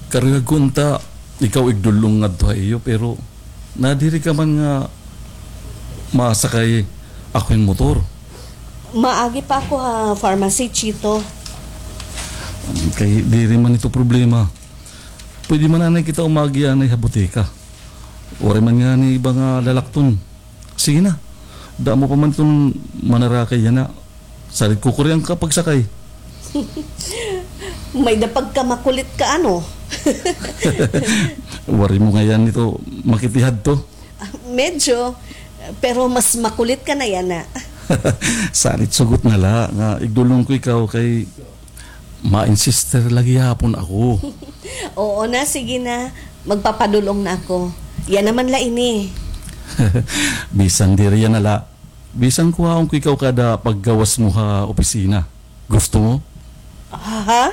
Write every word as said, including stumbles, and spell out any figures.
Karuyag ko unta ikaw igdul-ong ngadto ha iyo, pero nadiri ka man nga masakay ako hin motor. Maagi pa ako ha pharmacy, Chito. Kay diri man ito problema. Pwede man anay kita umagi anay ha butika. Waray man ngani iba nga lalakton. Sige na. Damo pa man iton manarakay yana. Salit ko kurian ka pagsakay. May-ada pagkamakulit ka, ano? Waray mo ngay-an ito makitihadto. Medyo, pero mas makulit ka na yana. Salit sugot na la nga igdul-ong ko ikaw kay ma-insister la gihapon ako. Oo na, sige na. Magpapadul-ong na ako. Yana man la ini. Bisan diri yana la. Bisan kuhaon ko ikaw kada paggawas mo ha opisina. Gusto mo? Ha?